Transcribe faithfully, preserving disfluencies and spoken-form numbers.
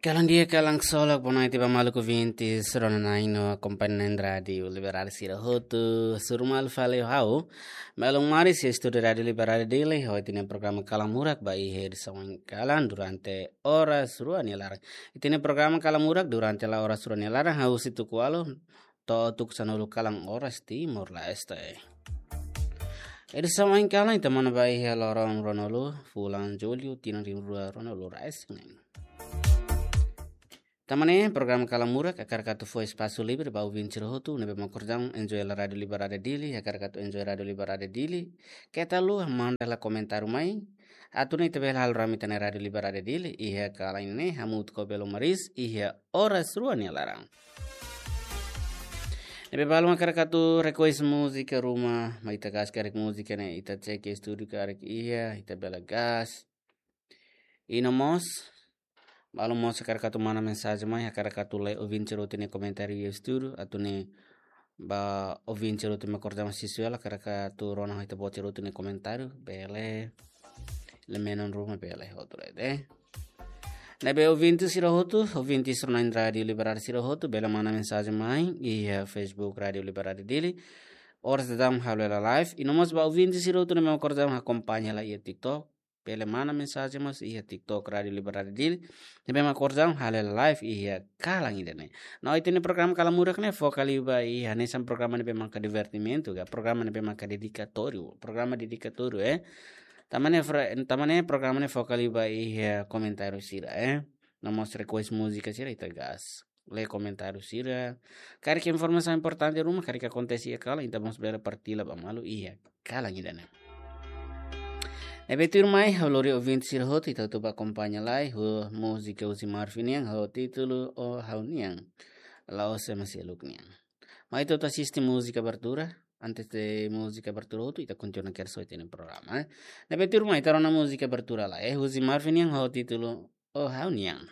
Kalan di'ak, kalan ksolok, boa noite ba maluk ouvintes rona-na'in no akompaña na'in Rádiu Liberal sira hotu. Hasoru malu fali ho ha'u, Melon Maris, iha estúdiu Rádiu Liberal Dili, ho ita-nia programa Kalan Murak ba iha edisaun ohin kalan durante oras rua nia laran. Ita-nia programa Kalan Murak durante la oras rua nia laran, hahú husi tuku ualu to'o tuku sanulu kalan oras Timor-Leste. Edisaun ohin kalan ita monu ba iha loron ruanulu fulan Jullu tinan rihun rua ruanulu resin neen. Tanba ne'e programa Kalan Murak hakarak atu fó espasu livre ba ouvinte sira hotu ne'ebé mak orsida enjoy hela Rádiu Liberal Dili, hakarak atu enjoy Rádiu Liberal Dili. Keta haluha manda hela komentáriu mai, atu nune'e ita bele halo rame ita-nia Rádiu Liberal Dili iha kalan ne'e hamutuk ho Melon Maris iha oras rua nia laran. Ne'ebé balu mak hakarak atu request múzika ruma, mai ita gas karik múzika ne'e, ita cek estúdiu karik iha, ita bele gas. I no mós, balu mós hakarak atu manda mensajen mai, hakarak atu lee ouvinte sira hotu nia komentáriu iha estúdiu, atu nune'e ba ouvinte sira hotu mak orsida mai sisuela, hakarak atu rona ho ita-boot sira hotu nia komentáriu, bele, lee menon ruma bele hotu de'it. Ne'ebé ouvinte sira hotu, ouvinte rona-na'in Rádiu Liberal sira hotu, bele manda mensajen mai iha Facebook Rádiu Liberal Dili. Oras daudaun halo hela live, i no mós ba ouvinte sira hotu ne'ebé mak orsida akompaña hela iha TikTok, bele manda mensajen mós iha TikTok Rádiu Liberal Dili, ne'ebé mak orsida halo hela live iha kalan ida-ne'e. No ita-nia programa Kalan Murak ne'e foka liu ba iha hanesan programa ne'ebé maka divertimentu ka, programa ne'ebé maka dedikatóriu, programa dedikatóriu, eh. Tanba ne'e fra-, tanba ne'e programa ne'e foka liu ba iha komentáriu sira, eh. No mós request múzika sira ita gas. Lee komentáriu sira. Karik informasaun importante ruma, karik akontese iha kalan, ita mós bele partilla ba malu iha kalan ida-ne'e. Ne'ebé tuirmai, ha'u lori ouvinte sira hotu, ita hotu bá akompaña lai ho múzika husi Marvin nian ho títulu O Ha'u-Nian. La'ós ema seluk nian. Mai ita hotu asiste múzika abertura, antes de múzika abertura hotu, ita kontinua kedas ho ita-nia programa, eh. Ne'ebé tuirmai, ita rona múzika abertura lai, eh, husi Marvin nian ho títulu O Ha'u-Nian.